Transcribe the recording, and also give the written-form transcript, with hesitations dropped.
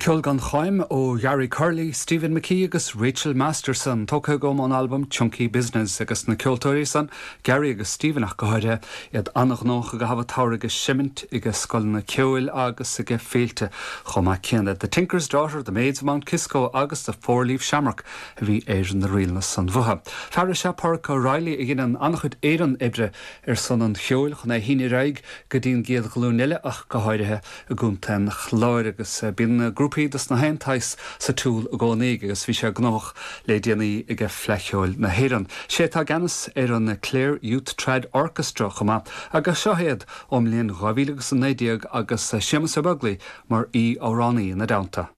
Ceol gan choim ó Gary Curley, Stephen McKee agus Rachel Masterson, tógtha agam ón albam Chunky Business agus na ceoltóirí san, Gary agus Stephen ach go háirithe, iad an-ghnóthach i gcaitheamh an tsamhraidh ag seimint ag scoileanna ceoil agus ag féilte chomh maith céanna. The Tinker's Daughter, The Maids of Mount Kisco agus The Four Leaf Shamrock a bhí ar na ríleanna san uathu. Fear is ea Páraic O'Reilly a dheineann an-chuid oibre ar son an cheoil chun é a shíneadh ar aghaidh go dtí an gcéad ghlúin eile ach go háirithe i gContae an Chláir agus bíonn grúpaí dos na haon tsaghas sa tsiúl i gcónaí aige agus bhí sé gnóthach le déanaí ag Fleadh Cheoil na hÉireann. Sé atá i gceannas ar an Clare Youth Trad Orchestra chomh maith agus seo iad ón mbliain 2019 agus Séamus Ó Beaglaoich mar aoi-amhránaí ina dteannta.